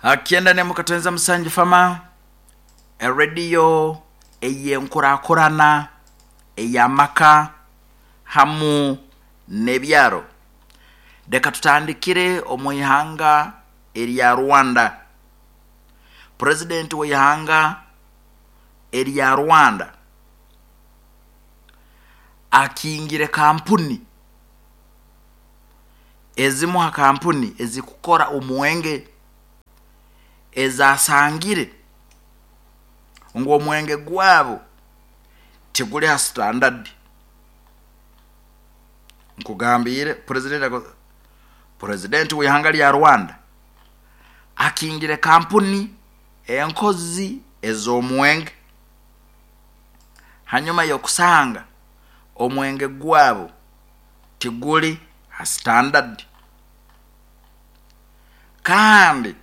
97 Fama, erediyo ey'enkurakurana ey'amaka hamu n'ebyaro. Leka tutandikire omu ihanga erya Rwanda. Purezidenti w'ihanga erya Rwanda akingire kampuni ezimu ha kampuni ezikukora omwenge ezasangire ngu omwenge gwabo tiguli ha standard. Nkugambiire purezidenti w'ihanga lya Rwanda akingire kampuni enkozi ez'omwenge hanyuma y'okusanga omwenge gwabo tiguli ha standard. Kandi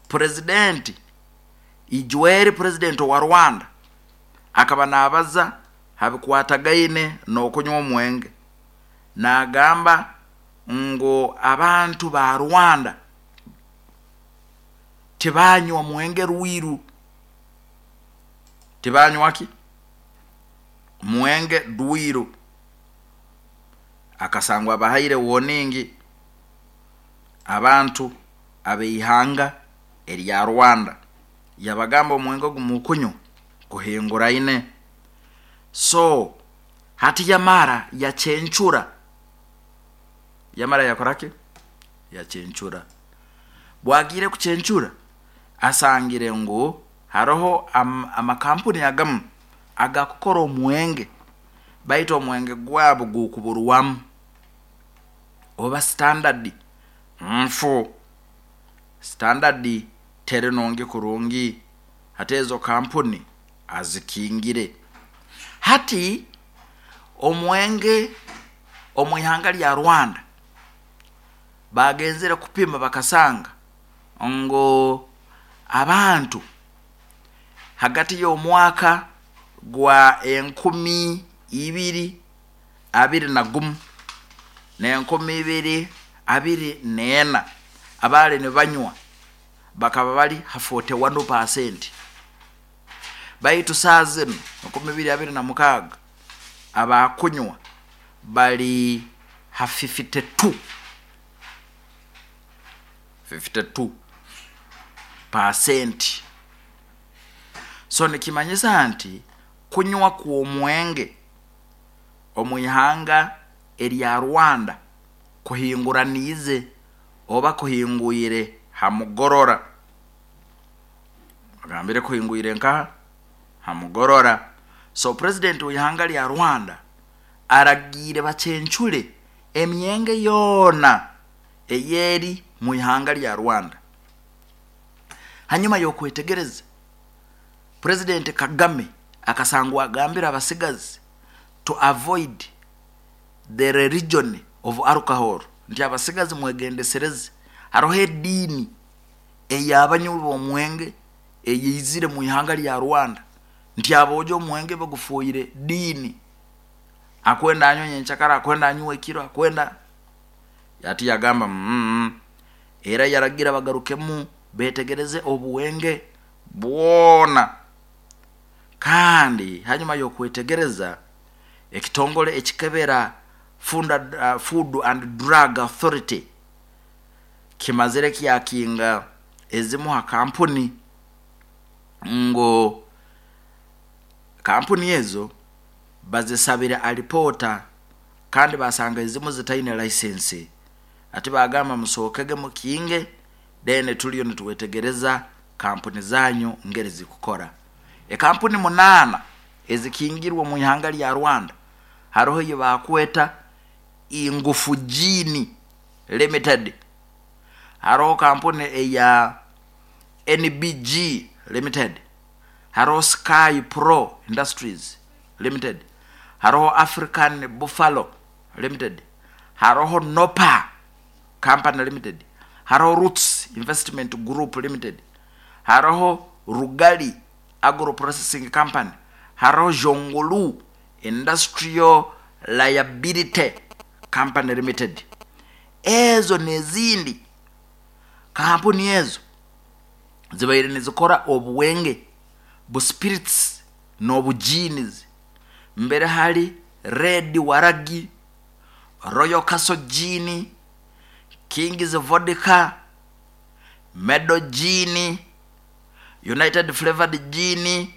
purezidenti Ijweri purezidenti owa Rwanda akaba naabaza ha bikwatagaine n'okunywa omwenge, naagamba ngu abantu ba Rwanda tibanywa mwenge rwiru. Tibanywa ki? Mwenge rwiru. Akasangwa abahaire warning abantu ab'eihanga erya Rwanda. Yabagamba omwenge ogu mukunywa guhinguraine. So hati yamara yacencura. Yamara yakora ki? Yacencura. Bwagiire kucencura asangire ngu haroho amakampuni agamu agakukora omwenge baitu omwenge gwabo gukuburwamu oba standard nfu. Standard teri nungi kurungi hati ezo kampuni azikingire. Hati omwenge omu ihanga lya Rwanda bagenzere kupima bakasanga ngu abantu hagati y'omwaka gwa 2021 na 2024 abaali nibanywa bakaba bali ha 41%. Baitu saaha zinu 2026 abakunywa bali ha 52 52%. So nikimanyisa nti kunywa kw'omwenge omu ihanga erya Rwanda kuhinguraniize oba kuhingwire ha mugorora. Agambire kuhingwire nkaha? Ha mugorora. So purezidenti w'ihanga lya Rwanda aragiire bacencure emyenge yoona ey'eri mu ihanga lya Rwanda. Hanyuma y'okwetegereza, Purezidenti Kagame akasangwa agambire abasigazi to avoid the religion of alcohol nti abasigazi mwegendesereze haroho ediini ey'abanywi b'omwenge eyaizire mu ihanga lya Rwanda nti aboojo omwenge bagufoire diini akwenda anywe nyenkyakara akwenda anywe ekiro akwenda ati yagamba era yaragira bagarukemu betegereze obuwenge bwona. Kandi hanyuma y'okwetegereza ekitongole ekikebera Food and Drug Authority kimazire kyakinga ezimu ha kampuni ngu kampuni ezo bazisabire alipoota kandi basanga ezimu zitaine license. Ati bagamba musookege mukinge then tuliyo nitwetegereza kampuni zanyu ngeri zikukora. Ekampuni 8 ezikingirwe omu ihanga lya Rwanda haroho ei bakweta Ingufu Gin Limited, haroho kampuni eya NBG Limited, haroho Sky Pro Industries Limited, haroho African Buffalo Limited, haroho Nopa Company Limited, haroho Roots Investment Group Limited, haroho Rugali Agro Processing Company, haroho Jongolu Industrial Liability Company Limited. Ezo n'ezindi. Kampuni ezo zibaire nizikora obuwenge bu spirits n'obu gins, mbere hali Red Waragi, Royal Castle Gin, Kings Vodka, Medo Gin, United Flavored Gin,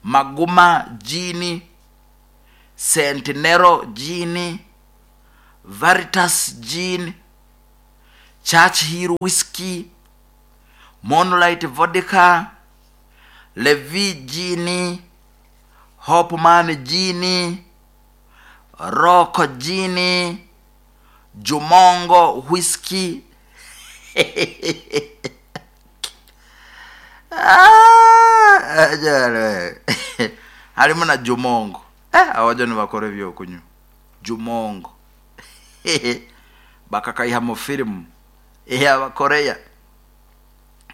Maguma Gin, Centenero Gin, Veritas Gin, Churchill Whiskey, Moonlight Vodka, Levi Gin, Hopman Gin, Rock Gin, Jumongo Whiskey. Ah, jale. Harimu na Jumongo. Abajo nibakora ebyokunywa Jumongo bakakaiha mu firimu ey'Abakoreya.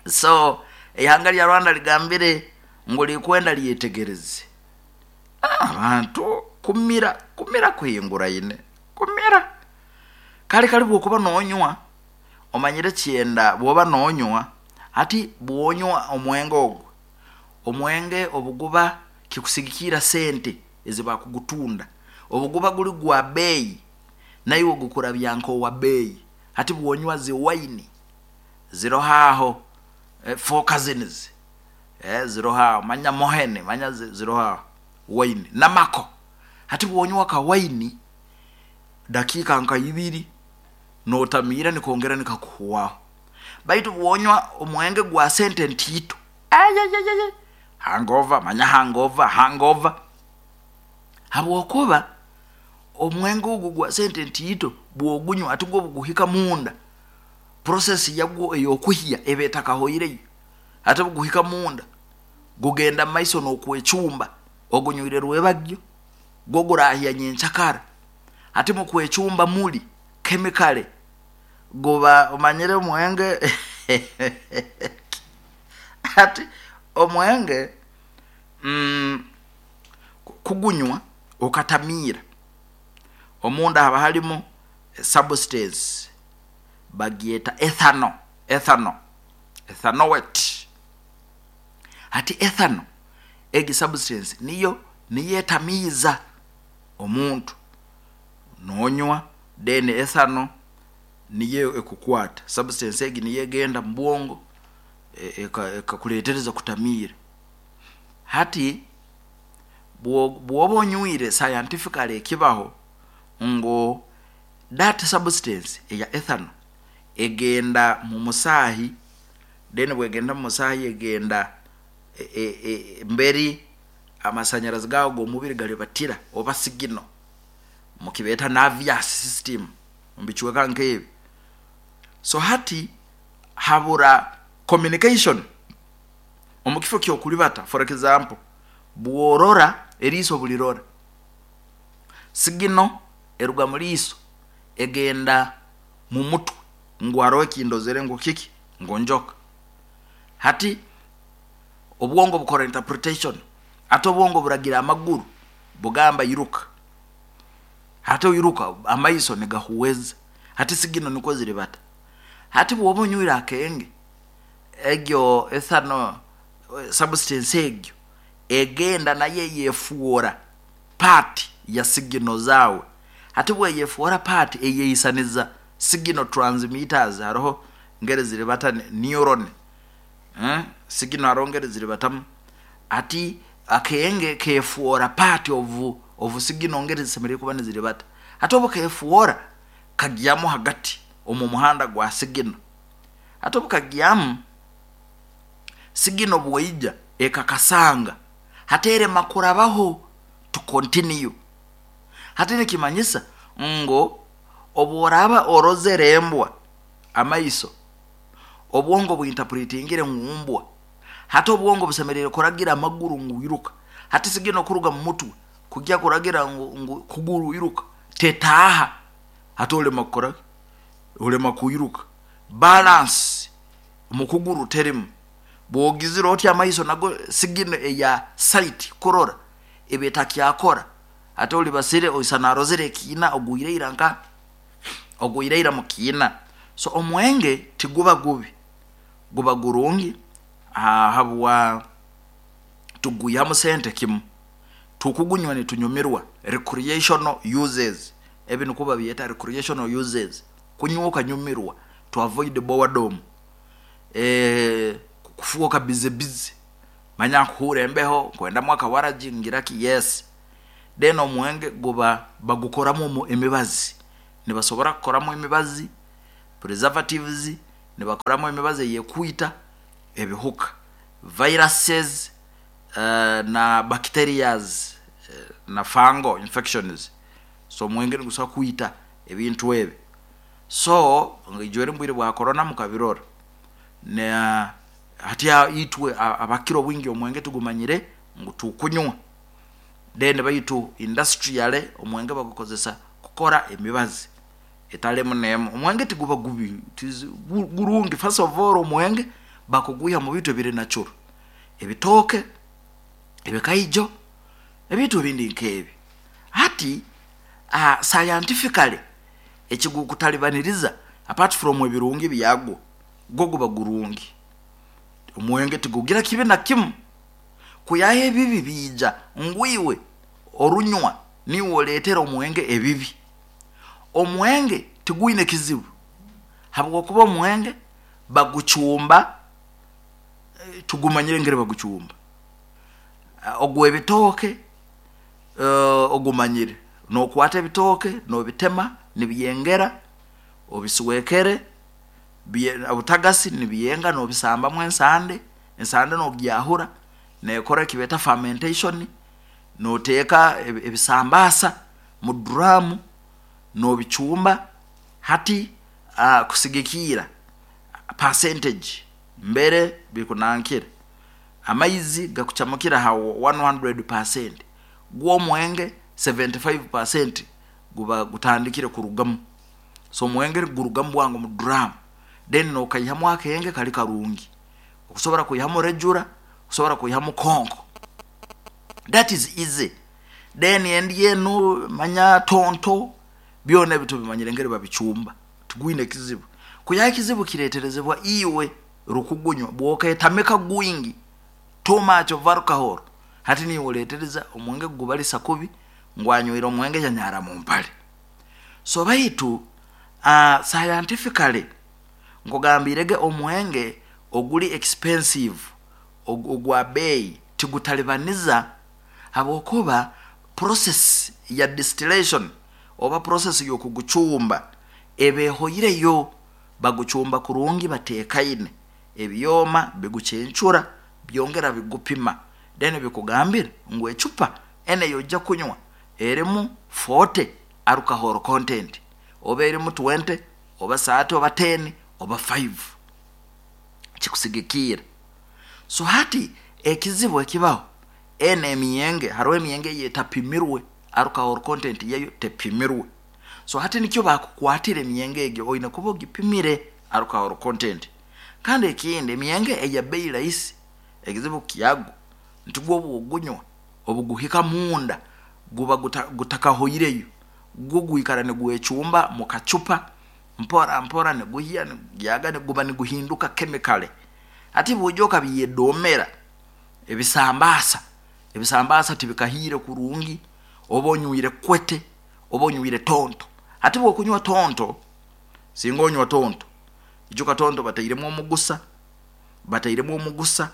So ihanga lya Rwanda ligambire ngu likwenda lyetegereze abantu kumira kumira kuhinguraine kumira kale kali bwokuba nonywa omanyire kyenda bwoba nonywa ati bwonywa omwenge ogwo omwenge obuguba kikusigikira sente ezibakugutunda obuguba guli gwa bei naiwe gukurabya nkowa bei. Hati bwonywa zi wine ziroho aho, Four Cousins, ziroho aho, manya mohene manya ziroho aho wine namako. Hati bwonywa ka wine dakiika nka ibiri notamiira nikongera nikakuhwaho, baitu bwonywa omwenge gwa sente ntiito, ayayayaya, hangover, manya hangover hangover, habwokuba omwenge ogu gwa sente ntiito bwogunywa ati gwo buguhika munda process yagwo ey'okuhya eba etakahoireyo. Ate buguhika munda gugenda mumaiso n'okwecumba, ogunywire rwebagyo gwo gurahya nyenkyakara. Hati mukwecumba muli chemically guba omanyire omwenge hati omwenge kugunywa okatamiira omunda haba halimu substance bagyeta ethanol, ethanol, ethanoate. Hati ethanol egi substance niyo niyo etamiiza omuntu nonywa, then ethanol niyo ekukwata substance egi niyo egenda mubwongo ekakuretereza kutamiira. Hati bwoba onywire scientifically ekibaho ngu that substance eya ethanol egenda mumusaahi, then bwegenda mumusaahi egenda mberi amasanyarazi gaawe g'omubiri garibatira oba signal mukibeeta nervous system mubicweka nkebi. So hati habura communication omukifo kyokuribata. For example, bworora eriiso bulirora signal eruga muliiso egenda mumutwe ngu haroho ekindozere ngu kiki ngu njoka. Hati obwongo bukora interpretation, hati obwongo buragira amaguru bugamba iruka, hati oiruka amaiso nigahuweza, hati signal nikwo ziribata. Hati bwoba onywire akenge egyo ethanol substance egyo egenda nayo eyefuura part ya signal zaawe. Hati bweyefuura part eyeisaniza signal transmitters, haroho ngeri ziribata neuron, signal haroho ngeri ziribatamu. Hati akenge kefuura part of signal ngeri zisemeriire kuba niziribata. Hati obu kefuura kagyamu hagati omu muhanda gwa signal, hati obu kagyamu signal bweija ekakasanga hati erema kurabaho to continue. Hati nikimanyisa ngu obworaba orozere embwa amaiso, obwongo buinterpretingire ngu mbwa, hati obwongo busemeriire kuragira amaguru ngu iruka. Hati signal kuruga mumutwe kugya kuragira ngu kuguru iruka tetaaha, hati olema kukora ki, olema kwiruka, balance mukuguru terimu. Bwogizire oti amaiso nago signal eya sight kurora eba etakyakora, hati olibasire oisana arozere ekiina ogwire ira nka ogwire ira mukiina. So omwenge tiguba gubi, guba gurungi habwa tugwihamu sente kimu, tukugunywa nitunyumirwa, recreational uses, ebi nikwo babyeta recreational uses, kunywa okanyumirwa to avoid boredom, kufwoka busy busy, manya nkuhuura embeho nkwendamu akawaragi ngira ki, yes. Then omwenge guba bagukoramu emibazi, nibasobora kukoramu emibazi, preservatives, nibakoramu emibazi ey'ekwita ebihuka, viruses na bacterias na fungal infections, so omwenge nigusobora kwita ebintu ebi. So ijweri mubwiire bwa corona mukabirora, na hati itwe abakukira obwingi omwenge tugumanyire ngu tukunywa, then baitu industrially omwenge bagukozesa kukora emibazi etari emu neemu. Omwenge tiguba gubi, gurungi, first of all omwenge bakugwiiha mubintu ebiri natural, ebitooke, ebikaijo, ebintu ebindi nkebi. Hati scientifically ekigukutaribaniriza apart from ebirungi byagwo, gwo guba gurungi, omwenge tigugira kibi nakimu, kwihaho ebibi biija ngu iwe orunywa niiwe oreetera omwenge ebibi. Omwenge tigwine kizibu habwokuba omwenge bagucumba, tugumanyire engeri bagucumba, ogwebitooke ogumanyire, nokwaata ebitooke nobitema nibyengera, obisweekere, obutagasi nibyenga nobisambamu ensande, ensande nogyahura nekora ekibeeta fermentation, noteeka ebisambaasa mu drum nobicumba, hati kusigikiirra percentage mbere bikunankira, amaizi gakucamukira ha 100%, gwo omwenge 75% guba gutandikire kurugamu, so omwenge nigurugamu bwangu mu drum, then nokaihamu akenge kari karungi, okusobola kwiihamu regular, okusobola kwiihamu konko, that is easy. Then endi enu manya tonto, byoona ebi tubimanyire engeri babicumba, tigwiine kizibu. Kwiihaho ekizibu kireeterezebwa iwe rukugunywa, bwoketamika gwingi, too much of alcohol, hati niiwe oreetereza omwenge kugubarisa kubi ngu anywire omwenge yanyaara mumpare. So baitu scientifically nkugambiirege omwenge oguri expensive, ogwa beeyi tigutaribaniza habwokuba process ya distillation oba process yokugucumba eba ehoireyo, bagucumba kurungi bateekaine, ebyooma bigucencura byongera bigupima then bikugambira ngu ecupa enu eyojya kunywa erimu 40 alcohol content oba erimu 20 oba 30 oba 10 oba 5, kikusigikiirra. So hati ekizibu ekibaho, enu emyenge, haroho emyenge eyetapimirwe, alcohol content yayo tepimirwe, so hati nikyo bakukwatira emyenge egi, oyine kuba ogipimire alcohol content. Kandi ekindi emyenge eya beeyi rahisi, ekizibu kyagwo nti gwo obu ogunywa, obuguhika munda guba gutakahoireyo, gwo gwikara nigwecumba mukacupa mpora mpora niguhya nigugyaga niguba niguhinduka chemically. Hati bwoija okabyedoomera ebisambaasa, ebisambaasa tibikahiire kurungi, oba onywire kwete, oba onywire tonto. Hati bwokunywa tonto, singa onywa tonto, ijuka tonto batairemu omugusa, batairemu omugusa,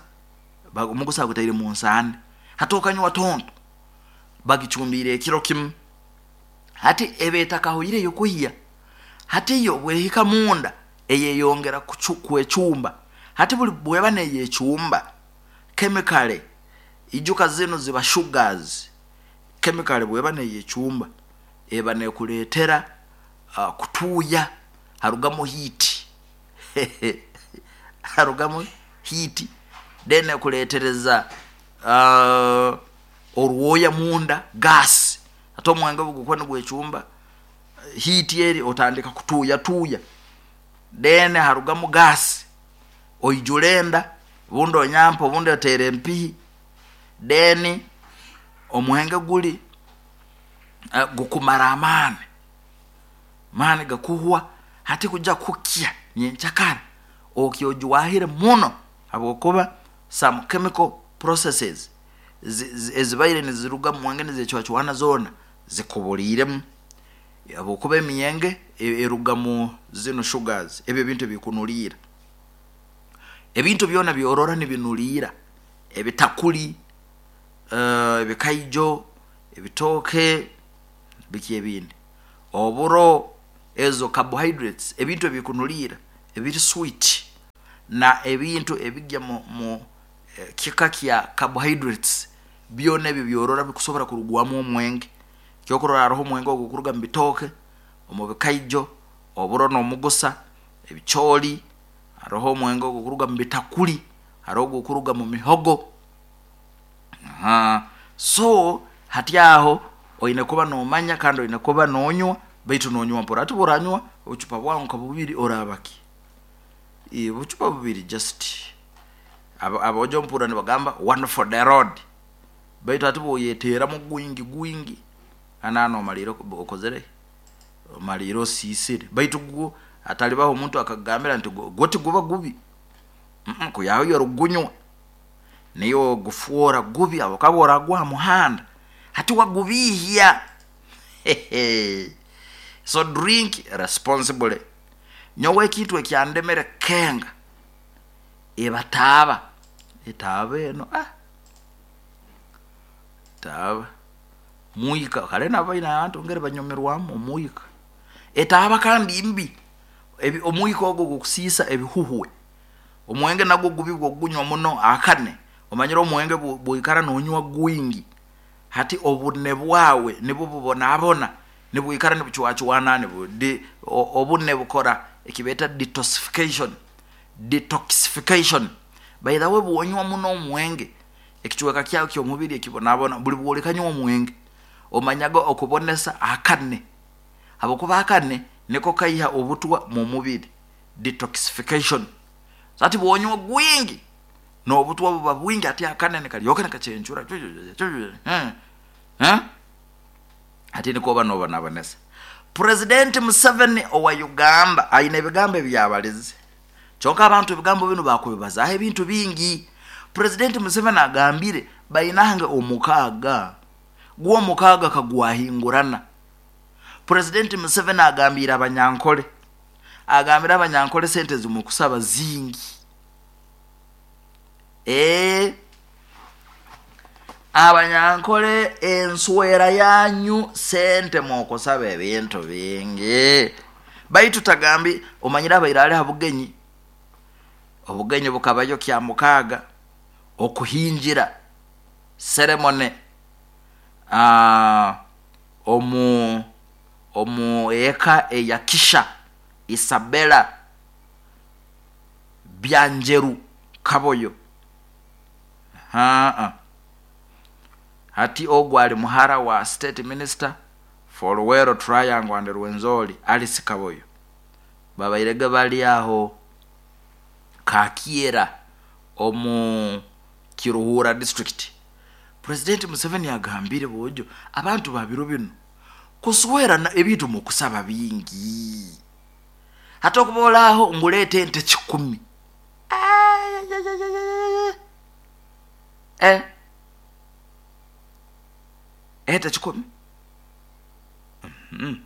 omugusa bagutaire munsande, hati okanywa tonto bagicumbiire ekiro kimu, hati eba etakahoireyo kuhya, hati yo obwehika munda eyeyongera kwecumba, hati buri bweba neyecumba, chemically ijuka zinu ziba sugars, chemically bweba neyecumba eba nekureetera kutuuya, harugamu heat, harugamu heat then ekureetereza orwooya munda, gas, hati omwenge obugukuba nigwecumba, heat eri otandika kutuuya tuuya, then harugamu gas, oijura enda, obundi onyampa, obundi oteera empihi, then omwenge guri gukumara amaani, amaani gakuhwa. Hati kujya kukya nyenkyakara okya ojwahire muno, habwokuba some chemical processes ezibaire niziruga mu mwenge nizecwacwana zoona zikubuliiremu, habwokuba emyenge eruga mu zinu sugars, ebi ebintu ebikunuliira. Ebintu byona byorora nibinuliira, ebitakuri, ebikaijo, ebitooke, biki ebindi, oburo, ezo carbohydrates, ebintu ebikunuliira ebiri sweet na ebintu ebigya mu kika kya carbohydrates, byona ebi byorora bikusobora kurugwamu omwenge. Ekyokurorraho haroho omwenge ogukuruga mu bitooke, omu bikaijo, oburo n'omugusa, ebicooli, haroho omwenge ogukuruga mu bitakuri, haroho ogukuruga mu mihogo, so hati aho oine kuba nomanya kandi oine kuba nonywa baitu nonywa mpora. Hati obu oranywa obucupa bwawe nka bubiri oraaba ki? Obucupa bubiri just aboojo mpurra nibagamba one for the road, baitu hati obu oyeteeramu gwingi gwingi, aho nomaliira okozire ki, omaliire osiisire, baitu gwo hatalibaho omuntu akakugambira nti gwo tiguba gubi, kwihaho iwe orikugunywa, niiwe ogufwoora gubi habwokuba obu oraguha hamuhanda, hati wagubiihya, so drink responsibly. Nyowe ekintu ekyandemere kukenga, eba taaba, etaaba enu etaaba, mwika, kare nabo baine abantu engeri banyumirwamu omwika, etaaba kandi mbi, omwika ogu gukusiisa ebihuhwe, omwenge nagwo gubi obu okugunywa muno akane, omanyire omwenge obu oikara nonywa gwingi, hati obune bwaawe nibwo bubonabona, nibwikara nibucwacwana, obune bukora ekibeeta detoxification, detoxification, by the way obu onywa muno omwenge, ekicweeka kyaawe ekyomubiri ekibonabona, buri bworikanywa omwenge, omanyaga okubonesa akane, habwokuba akane niko kaiha obutwa mumubiri, detoxification, so hati bwonywa gwingi, nobutwa buba bwingi hati akane nikaryoka nikacencura, hati nikwo oba nobonabonesa. President Museveni owa Uganda aine ebigambo ebi yabalize, kyonka abantu ebigambo binu bakubibazaaho ebintu bingi. President Museveni agambire bainange omukaaga, gwo omukaaga kagwahingurana. President Museveni agambiire abanyankole, agambire abanyankole sente ezimukusaba zingi. Eeh abanyankole enswera yanyu sente mwokusaba ebintu bingi, baitu tagambi omanyire abaire ali habugenyi, obugenyi bukabayo kyamukaaga, okuhingira, ceremony, omu eka eya Kisha Isabella Byanjeru Kaboyo. Haa hati ogu ali muhara wa State Minister for Luwero Triangle and Rwenzori Alice Kaboyo. Babairege bali aho Kakyera omu Kiruhura District. President Museveni agambire boojo abantu ba biro binu kuswerana ebintu mukusaba bingi. Hati okuba ori aho ngu reeta ente kikumi. Eh! Ente kikumi? Mhm.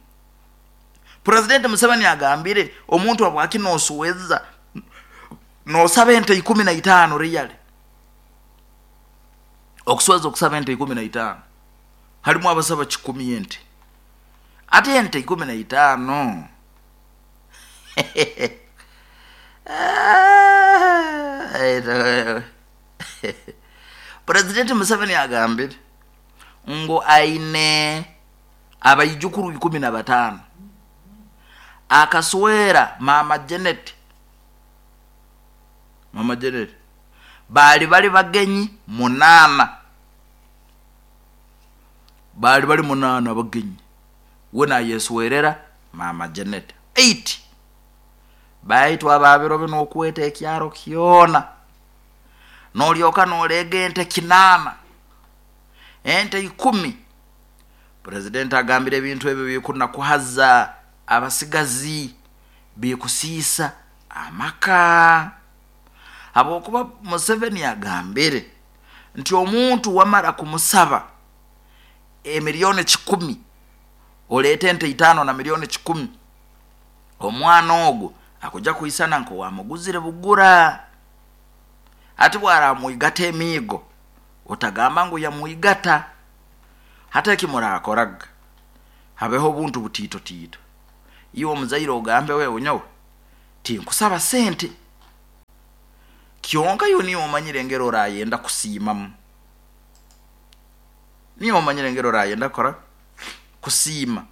Purezidenti Museveni agambire omuntu habwaki nosweza nosaba ente 15 really? Okusweza okusaba ente 15 harimu abasaba kikumi ente. Ati ente 15? Purezidenti Museveni agambire ngu aine abaijukuru 15. Akaswera Maama Janet, Maama Janet, baali bari bagenyi munaana, baali bari munaana abagenyi, we nayeswerera Maama Janet. Eight. Baitu aba biro binu okweta ekyaro kyona, nolyoka noleega ente kinaana, ente ikumi. Purezidenti agambire ebintu ebyo bikunakuhaza abasigazi. Bikusiisa amaka. Habwokuba Museveni agambire nti omuntu wamara kumusaba emiliyoni 100, oleete ente 5 na miliyoni 100, omwana ogwo akuja kwisana nk'owamuguzire bugura. Hati bwaramwigata emiigo, otagamba ngu yamwigata. Hati eki murakoraga, habeho obuntu butiito tiito. Iwe omuzaire ogambe, wewe nyowe tinkusaba sente, kyonka iwe niyo omanyire engeri orayenda kusiimamu, niyo omanyire engeri orayenda kukora kusiima.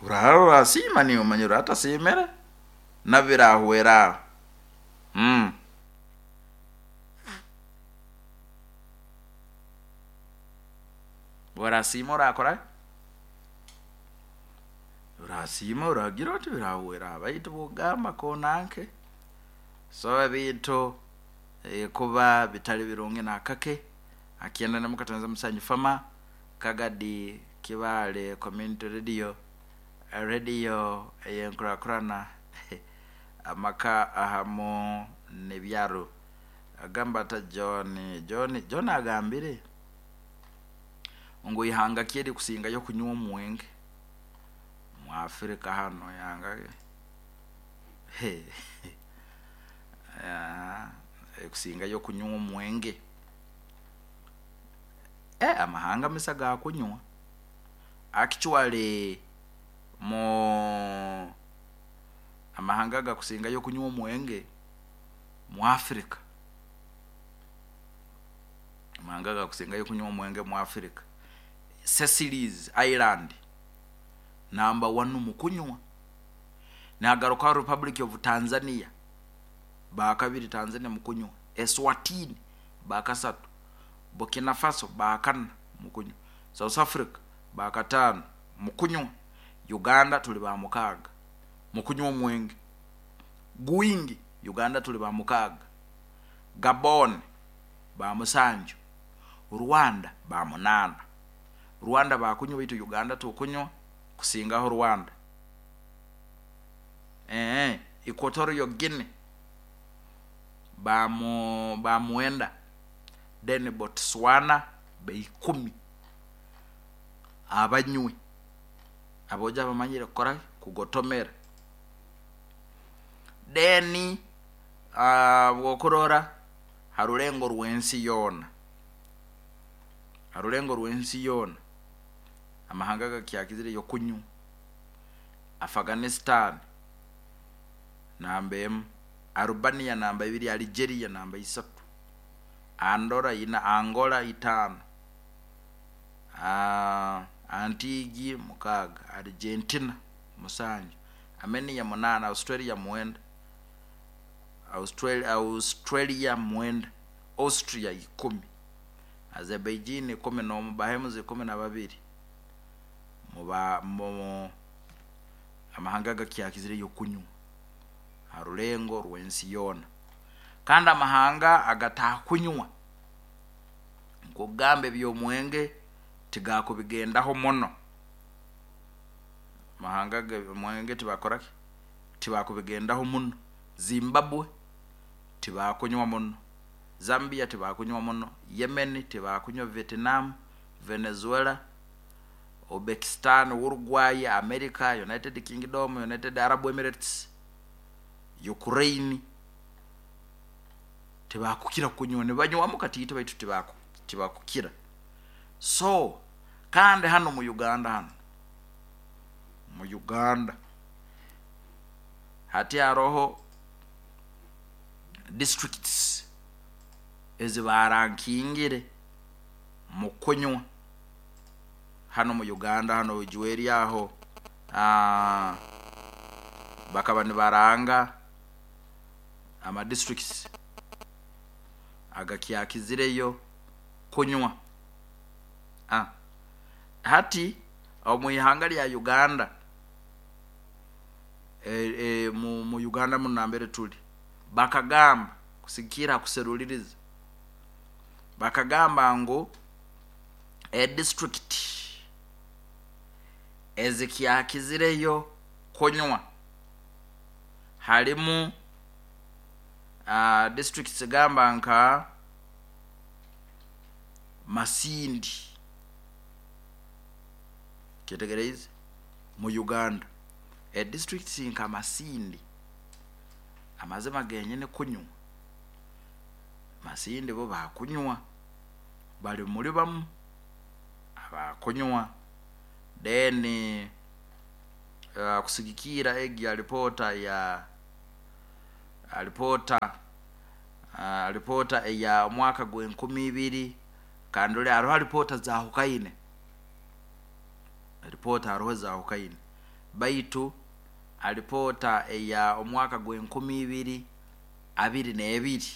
Oraba orasiima niyo omanyire, oratasiimire nabyo birahwera aho. Orasiima orakora, orasiima oragira oti birahwera aho, baitu bwogamba konanke. So ebintu kuba bitali birungi nakake. Akyenda ne Mukatanza Musanyu Fama Kagadi Kibaale Community Radio, radio ey'enkurakurana amaka ahamu n'ebyaro. Agamba ata John? John agambire ngu ihanga ki erikusingayo kunywa omwenge mu Afrika hanu, ihanga erikusingayo kunywa omwenge. Amahanga misa gakunywa. Actually mu amahanga agakusingayo kunywa omwenge mu Africa, amahanga agakusingayo kunywa omwenge mu Africa, Seychelles Island namba 1 mu kunywa. Nagaruka Republic of Tanzania bakabiri, Tanzania mu kunywa. Eswatini bakasatu, Burkina Faso bakana mu kunywa, South Africa bakatano mu kunywa, Uganda tuli ba mukaaga mu kunywa omwenge gwingi, Uganda tuli ba mukaaga, Gabon ba musanju, Rwanda ba munaana. Rwanda bakunywa, baitu Uganda tukunywa kusingaho Rwanda. Equatorial Guinea ba mwenda, then Botswana ba 10 abanywi aboja abamanyire kukora kugotomera. Then bwokurora harulengo rw'ensi yoona, harulengo rw'ensi yoona amahanga gakyakizireyo kunywa: Afghanistan namba 1, Albania namba 2, Algeria namba 3, Andorra 4, Angola 5, Antigi 6, Argentina 7, Armenia 8, Australia 9, Australia 9, Austria 10, Azerbaijan 11, Bahamas 12. Mu amahanga gakyakizireyo kunywa harulengo rw'ensi yoona. Kandi amahanga agatakunywa, nkugamba eby'omwenge tigakubigendaho muno, amahanga omwenge tibakoraki, tibakubigendaho muno. Zimbabwe tibakunywa muno, Zambia tibakunywa muno, Yemen tibakunywa, Vietnam, Venezuela, Uzbekistan, Uruguay, America, United Kingdom, United Arab Emirates, Ukraine tibakukira kunywa, nibanywamu katiito baitu tibakukira. So kandi hano mu Uganda, hano mu Uganda hati haroho districts ezibarankingire mu kunywa hano mu Uganda. Hano Ujweri aho bakaba nibaranga ama districts agakyakizireyo kunywa. Hati omu ihanga lya Uganda, mu Uganda muno nambere tuli, bakagamba kusigikira kuseruliriza, bakagamba ngu edistrict ezikyakizireyo kunywa Halimu districts gamba nka Masindi. Kyetegereize? Mu Uganda edistricts nka Masindi, amazima genyini kunywa, Masindi bo bakunywa, bali muli bamu abakunywa. Then kusigikira egi alipoota ya alipoota eya omwaka gw'enkumi ibiri, kandi oli haroho alipoota zahukaine, alipoota haroho zahukaine, baitu alipoota eya omwaka gw'enkumi ibiri abiri n'ebiri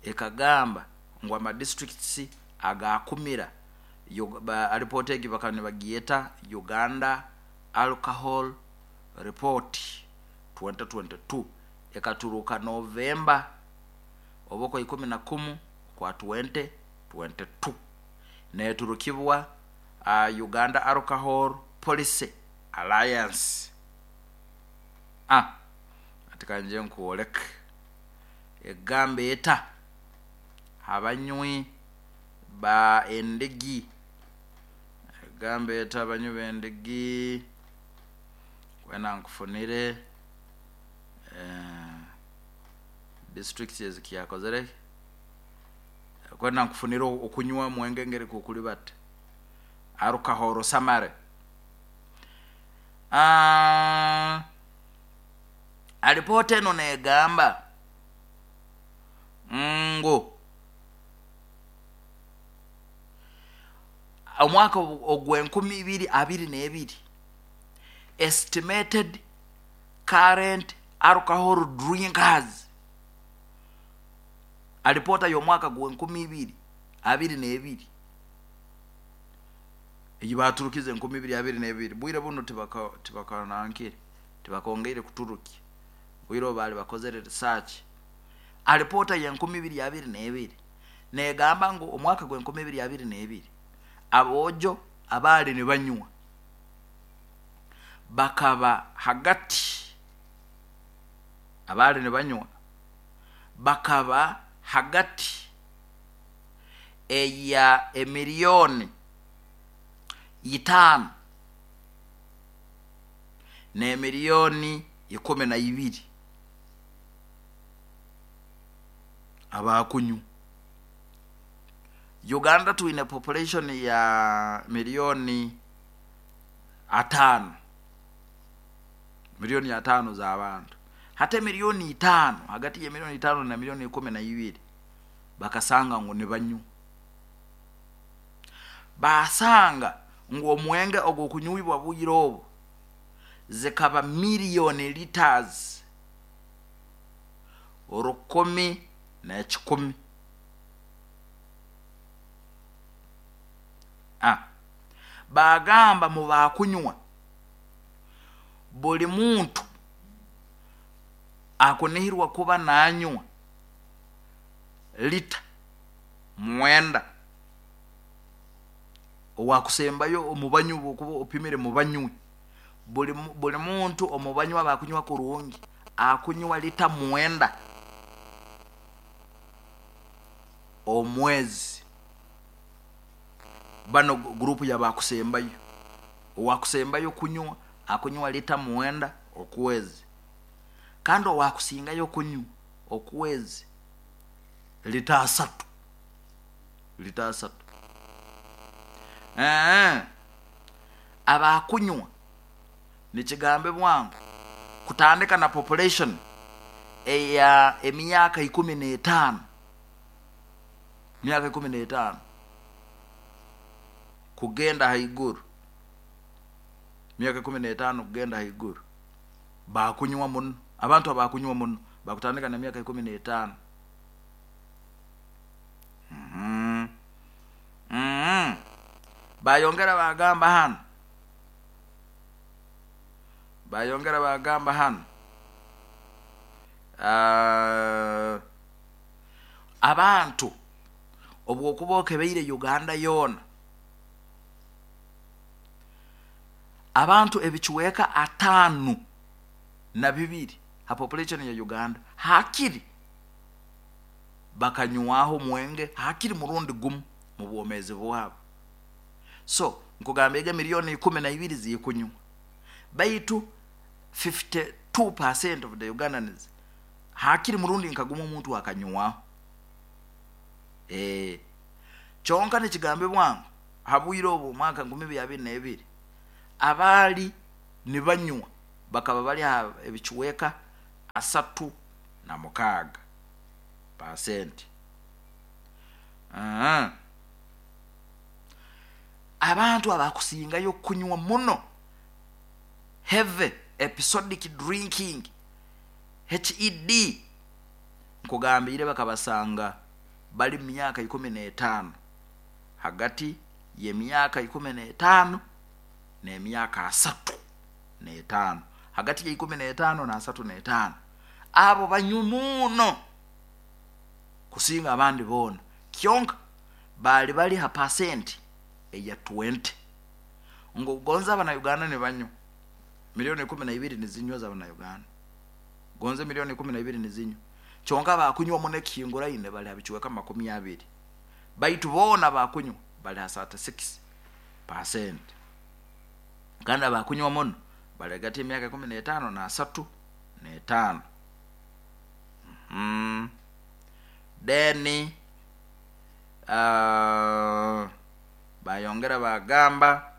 ekagamba ngu amadistricts agakumira. Alipoota egi bakaba nibagyeta Uganda Alcohol Report 2022, ekaturuka Novemba oba kwa 11 kwa 2022, neturukibwa Uganda Alcohol Policy Alliance. Ati kanje nkwoleke egamba eta abanywi ba endigi, egamba eta abanywi b'endigi, kwena nkufunire districts ezikyakozere, kwena nkufunire okunywa mwenge ngeri kukuli bata alcohol summary. Alipoota eno negamba ngu omwaka ogw'enkumi ibiri abiri n'ebiri estimated current alcohol drinkers, alipoota y'omwaka gw'enkumi ibiri abiri n'ebiri eyi baturukize enkumi ibiri abiri n'ebiri, bwire buno tibakanankire, tibakongeire kuturukya, bwire obu bali bakozere research. Alipoota y'enkumi ibiri abiri n'ebiri negamba ngu omwaka gw'enkumi ibiri abiri n'ebiri aboojo abaali nibanywa bakaba hagati, abaali nibanywa bakaba hagati eya emiliyoni 5 n'emiliyoni 12 abakunywa. Uganda twine population ya miliyoni 5, miliyoni 5 z'abantu, hata miliyoni 5, hagati ya miliyoni 5 na miliyoni 12 bakasanga ngu nibanywa. Basanga ngu omwenge ogw'okunywibwa bwire obu zikaba miliyoni liters 1,100. Bagamba mu bakunywa buli muntu akunihirwa kuba nanywa lita 9, owakusembayo omubanywi bwokuba opimire mubanywi, buli muntu omubanywi abakunywa kurungi akunywa lita 9 omwezi. Bano gurupu yabakusembayo, owakusembayo kunywa akunywa lita 9 okwezi, kandi owakusingayo kunywa okwezi lita 3, lita 3. Abakunywa nikigambe bwangu kutandika na population eya emyaka 15, myaka 15 kugenda haiguru, myaka 15 kugenda haiguru bakunywa muno. Abantu abakunywa muno bakutandika na myaka 15. Bayongera bagamba hano, bayongera bagamba hano abantu obwokuba okebeire Uganda yoona, abantu ebichweka 5 42 ha population ya Uganda hakiri bakanywaho omwenge hakiri murundi gumu mu bwomeezi bwabo. So nkugamba ega miliyoni 12 zikunywa, baitu 52% of the Ugandans hakiri murundi nkagumu omuntu akanywaho. Kyonka nikigambibwa ngu habwire obu omwaka 2022 abaali nibanywa bakaba bali ha ebicweka 36%. Abantu abakusingayo kunywa muno, heavy episodic drinking, HED, nkugambiire bakabasanga bali mu myaka 15, hagati y'emyaka 15 n'emyaka 35, hagati ya 15 na 35, abo banywi muno kusinga abandi boona. Kyonka baali bali ha pasenti eya 20. Ngu gonza Abanauganda nibanywa miliyoni 12 nizinywa z'Abanauganda, gonza miliyoni 12 nizinywa, kyonka bakunywa muno ekihinguraine bali ha bicweka 20, baitu boona bakunywa bali ha 36%, kandi abakunywa muno bali hagati y'emyaka 15 na 35. Then bayongera bagamba,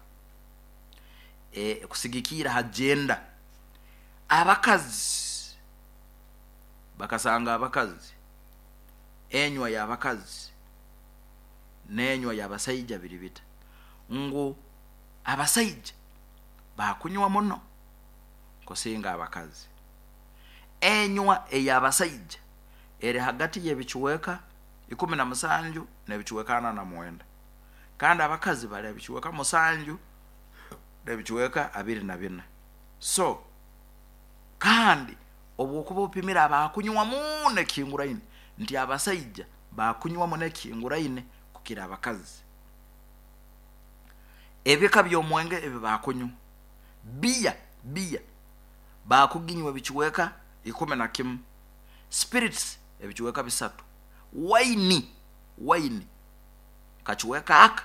kusigikira ha gender, abakazi bakasanga abakazi, enywa y'abakazi n'enywa y'abasaija biri bita, ngu abasaija bakunywa muno kusinga abakazi. Enywa ey'abasaija eri hagati y'ebicweka 17 n'ebicweka 49, kandi abakazi bali ebicweka 7 n'ebicweka 24. So kandi obwokuba opimire abakunywa muno ekihinguraine, nti abasaija bakunywa muno ekihinguraine kukira abakazi. Ebika by'omwenge ebi bakunywa, biya bakuginywa ebicweka 11, spirits ebicweka 3, waini kacweka aka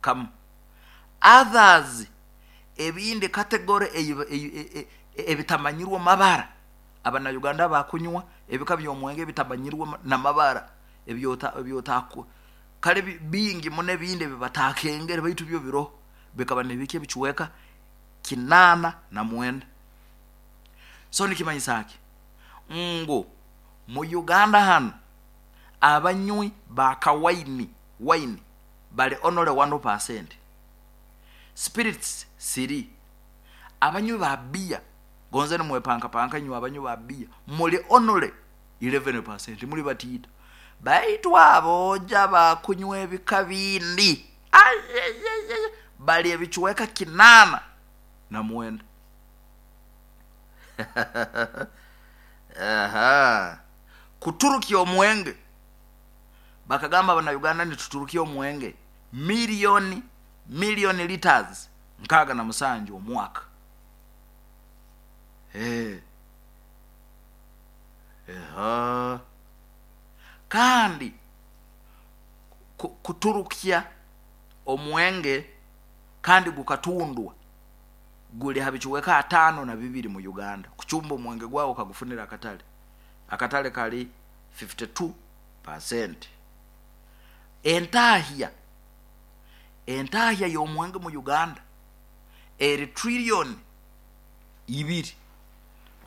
kamu, others ebindi category ebitamanyirwe mabara. Abanauganda bakunywa ebika by'omwenge ebitamanyirwe n'amabara, ebyotaku kale bingi muno, ebindi ebibatakengere, baitu byo biroho, bikaba nibiki ebicweka 89. So nikimanyisa ki? Ngu mu Uganda hanu abanywi ba kawaini, waini, bali only 1%, spirits 3, abanywi ba biya, gonze nimwepankapanka inywe abanywi ba biya muli only 11%, muli batiito. Baitu aboja bakunywa ebika bindi bali ebicweka 89. Aha. Kuturukya omwenge, bakagamba Abanauganda nituturukya omwenge miliyoni liters 67 omwaka. Kandi kuturukya omwenge kandi gukatundwa guli ha bicweka 52 mu Uganda. Kucumba omwenge gwawe okagufunira akatale, akatale kali 52%. Entahya y'omwenge mu Uganda eri triliyoni 2.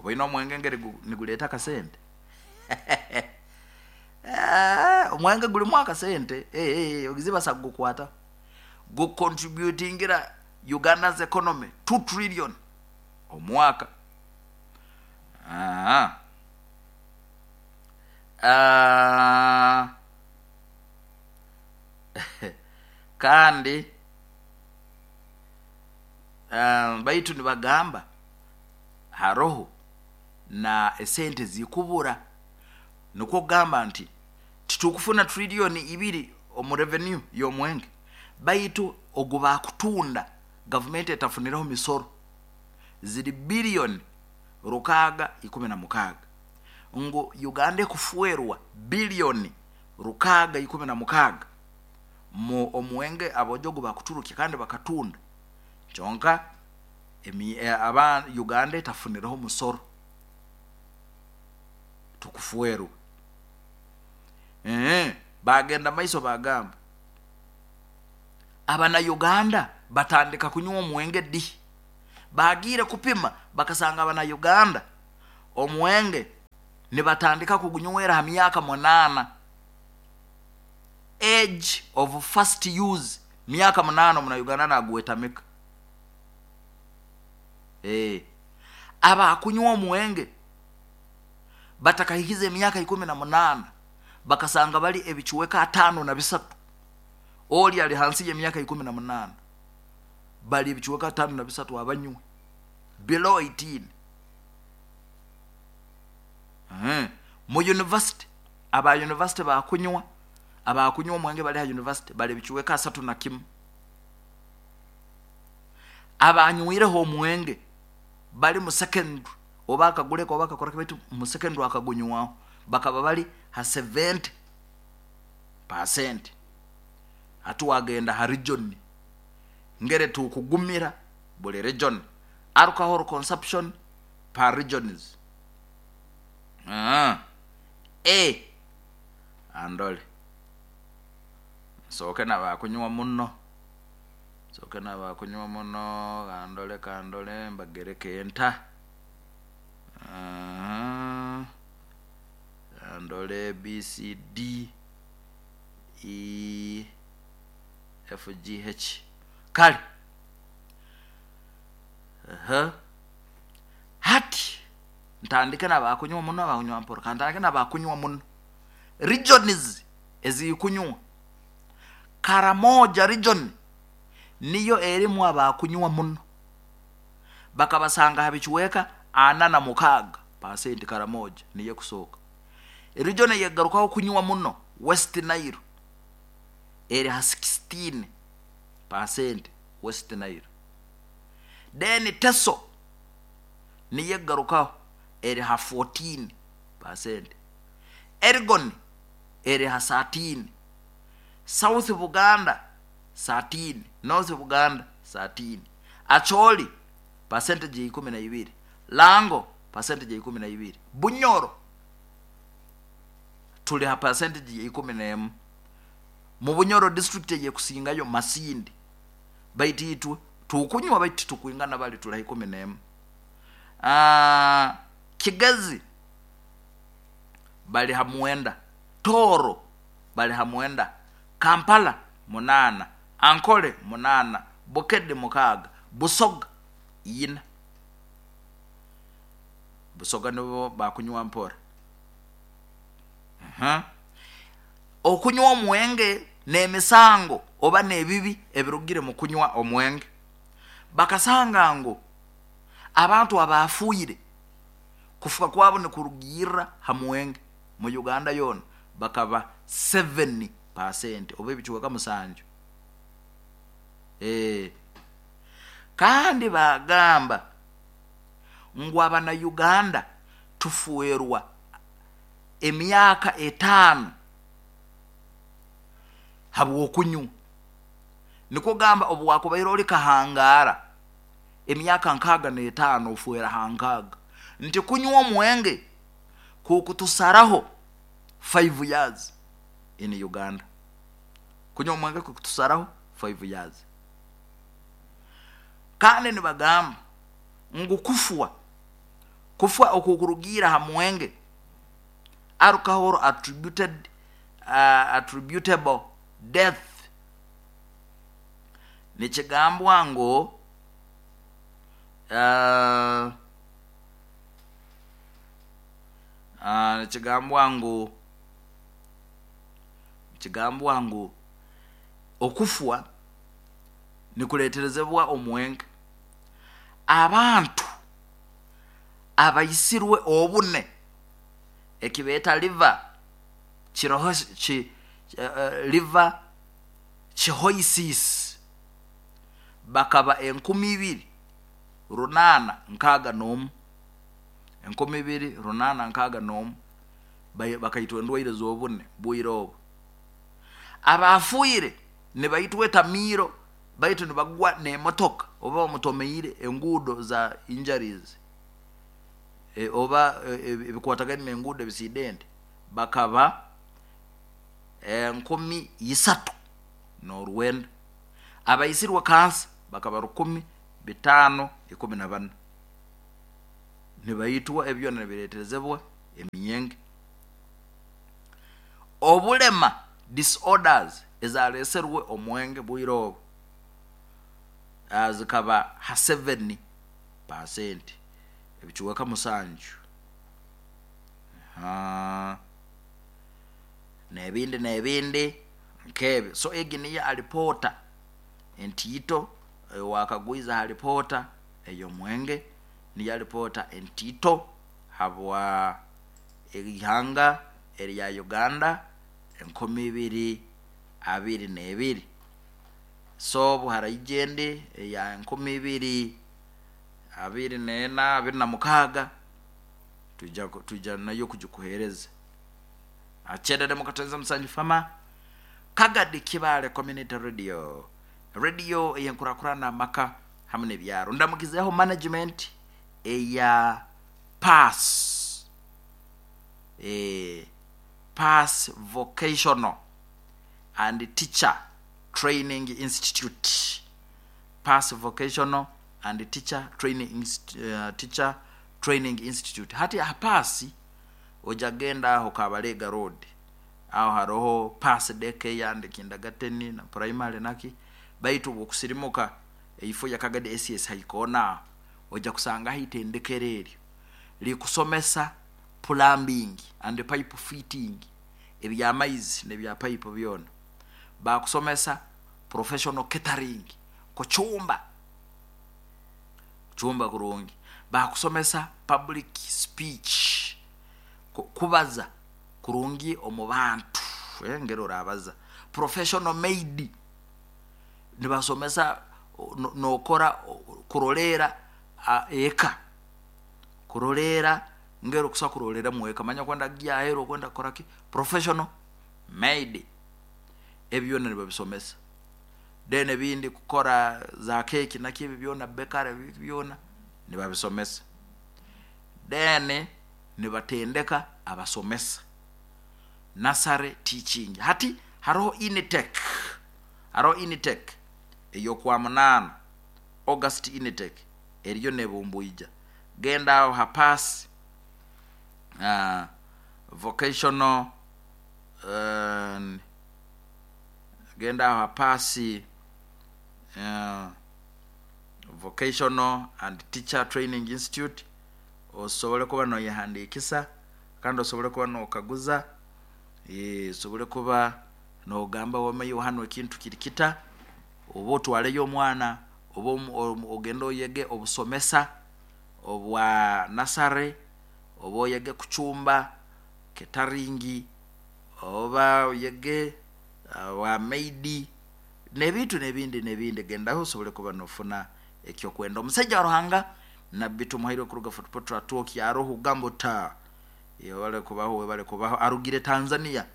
Obaine omwenge ngeri niguleeta akasente. Omwenge gulimu akasente, ogizibasa kugukwata gucontributingira Uganda's economy 2 trillion omwaka. Kandi baitu nibagamba haroho na esente zikubura, nikwo kugamba nti titukufuna triliyoni 2 omu revenue y'omwenge, baitu ogu bakutunda gavumenti etafunireho misoro ziri biliyoni. 616, ngu Uganda ekufwerwa biliyoni 616 mu omwenge abojo ogu bakuturukya kandi bakatunda, kyonka aba Uganda etafunireho omusoro, tukufwerwa. Bagenda maiso bagamba abana Uganda batandika kunywa omwenge di? Bagiire kupima bakasanga abana Uganda omwenge nibatandika kugunywera ha myaka 8. Age of first use myaka 8 omuna Uganda nagwetamika. Abakunywa omwenge batakahikize emyaka 18 bakasanga bali ebicweka 53, oli ali hansi y'emyaka 18, bali ebicweka 53 abanywe below 18. Mu university, aba university bakunywa, abakunywa omwenge bali ha university bali ebicweka 31. Abanywireho omwenge bali mu secondary, oba akaguleka oba akakora baitu mu secondary akagunywaho, bakaba bali ha 70%. Hati wagenda ha region, ngere tukugumira buli region, alcohol consumption per regions. Andole nsooke nabakunywa muno, nsooke nabakunywa muno, kandole kandole mbagereke enta. Kandole B C D E F G H. Kale hati ntandike nabakunywa muno, abakunywa mpora, kantandike nabakunywa muno. Regions ezikunywa, Karamoja region niyo erimu abakunywa muno, bakabasanga ha bicweka 46%. Karamoja niyo ekusoka. Region eyegarukaho kunywa muno, West Nile, eri ha 16% West Nile. Then Teso niyo egarukaho, eri ha 14%. Elgon eri ha 13, South Buganda 13, North Buganda 13, Acholi percentage 12, Lango percentage 12, Bunyoro tuli ha percentage 11. Mu Bunyoro district eyekusingayo Masindi, baitu itwe tukunywa baitu tukwingana bali tuli ha 11. Kigezi bali ha 9, Toro bali ha 9, Kampala 8, Ankole 8, Bukedi 6, Busoga 4. Busoga nibo bakunywa mpora. Okunywa omwenge n'emisango oba n'ebibi ebirugire mu kunywa omwenge, bakasanga ngu abantu abafuire kufuka kwabo nikurugirra ha mwenge mu Uganda yoona bakaba 7% oba ebicweka 7. Kandi bagamba ngu abana Uganda tufuerwa emyaka 5 habw'okunywa. Nikwo gamba obu wakubaire oli kahangara emyaka 65 ofuera ha 60, nti kunywa omwenge kukutusaraho 5 years in Uganda. Kunywa omwenge kukutusaraho 5 years. Kandi nibagamba ngu kufwa okukurugira ha mwenge, alcohol attributable death, nikigambwa ngu nikigambwa ngu okufwa nikuleterezebwa omwenge. Abantu abaisirwe obune ekibeeta liver liver cirrhosis bakaba 2861. 2861 bakaitwa endwaire z'obune bwire obu. Abafiire nibaitwa etamiiro, baitu nibagwa n'emotoka oba bamutomeire enguudo za injuries, oba ebikwatagaine n'enguudo ebisidenti, bakaba 3,009. Abaisirwe kansa bakaba 1514. Nibaitwa ebi byona nibireeterezebwa emyenge. Obulema, disorders, ezaleeserwe omwenge bwire obu zikaba ha 7%, ebicweka 7. N'ebindi n'ebindi nk'ebyo. So egi niyo alipoota entiito owakagwiza ha alipoota ey'omwenge, niyo alipoota entiito habwa ihanga erya Uganda 2022. So obu haraija endi eya 2024, 26, twija nayo kugikuheereza. Akyerere mukatonza musanju fama Kagadi Kibaale Community Radio, radio ey'enkurakurana amaka hamu n'ebyaro. Ndamukizeeho management eya Pass, Pass Vocational and Teacher Training Institute, Pass Vocational and Teacher Training, Teacher Training Institute. Hati ha Pass oja genda aho Kabalega Road, aho haroho Pass Daycare and Kindergarten na primary naki, baitu obwokusirimuka eifo ya Kagadi SS haikoona aho, oja kusangaho itendekero eryo likusomesa plumbing and pipe fitting, eby'amaizi n'ebya pipe byona. Bakusomesa professional catering, kucumba, kucumba kurungi. Bakusomesa public speech, kubaza kurungi omu bantu, engeri orabaza. Professional maid, nibasomesa nokora kuroleera eka, kuroleera ngeri okusobola kuroleeramu eka, manya okwenda kugya aheeru okwenda kukora ki, professional maid, ebi byona nibabisomesa. Then ebindi kukora za keeki naki ebi byona bakery ebi byona nibabisomesa. Then nibatendeka abasomesa nursery teaching. Hati haroho intake, haroho intake ey'okwamunaana, August intake eriyo nebumbwija. Genda aho ha Pass Vocational, genda aho ha Pass Vocational and Teacher Training Institute osobole kuba noyehandiikisa kandi osobole kuba nokaguza, osobole kuba nogamba wama iwe hanu ekintu kiri kita, oba otwaleyo omwana oba ogende oyege obusomesa obwa nursery, oba oyege kucumba, catering, oba oyege obwa maid, n'ebintu n'ebindi n'ebindi. Gendaho osobole kuba nofuna ekyokwenda. Omusaija wa Ruhanga Nabbi Tumuhairwe kuruga Fort Portal Atwoki aroho Gambota, webale kubaho, webale kubaho. Arugire Tanzania,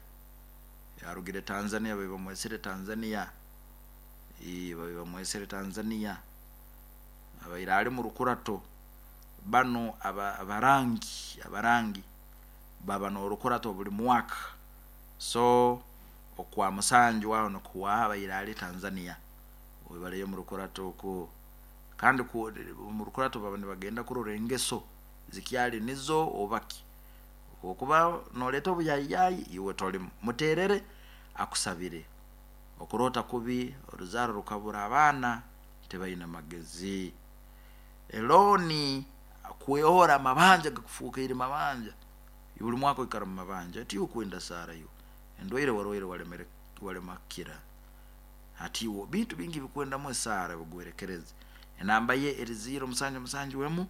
arugire Tanzania, babi bamwesere Tanzania, babi bamwesere Tanzania. Abaire ali mu rukurato, banu abarangi, abarangi baba n'orukurato buli mwaka. So okwa musanju aho nikuhwaho abaire ali Tanzania, webaleyo omu rukurato oku. Kandi omu rukurato baba nibagenda kurora engeso zikyali nizo oba ki. Obwokuba noleeta obuyayiyayi iwe tolimu, muterere akusabire. Okuroota kubi, oruzaaro rukabura abaana tibaine magezi. Elooni kwehora amabanja gakufuukaire mabanja, buli mwaka oikara omu mabanja, tiiwe okwenda saara iwe, endwaire warwaire walema kukira. Hati iwe bintu bingi bikwendamu esaara bigwerekereze. Enamba ye eri 0 7 7 emu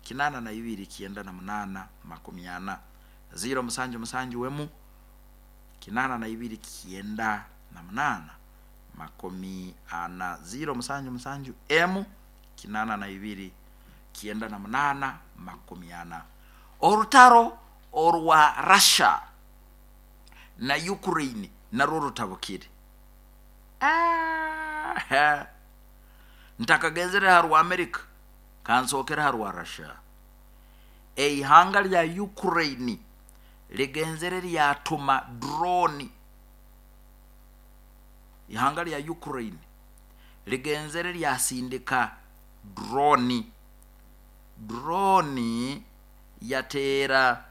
82 98 40, 0 7 7 emu 82 98 40, 0 7 7 emu 82 98 40. Orutaro orwa Russia na Ukraine narwo rutabukire. Ah, ntakagenzere ha rwa America, kansookere ha rwa Russia. Eihanga lya Ukraine ligenzere lyatuma drone. Ihanga lya Ukraine ligenzere lyasindika drone. Drone yateera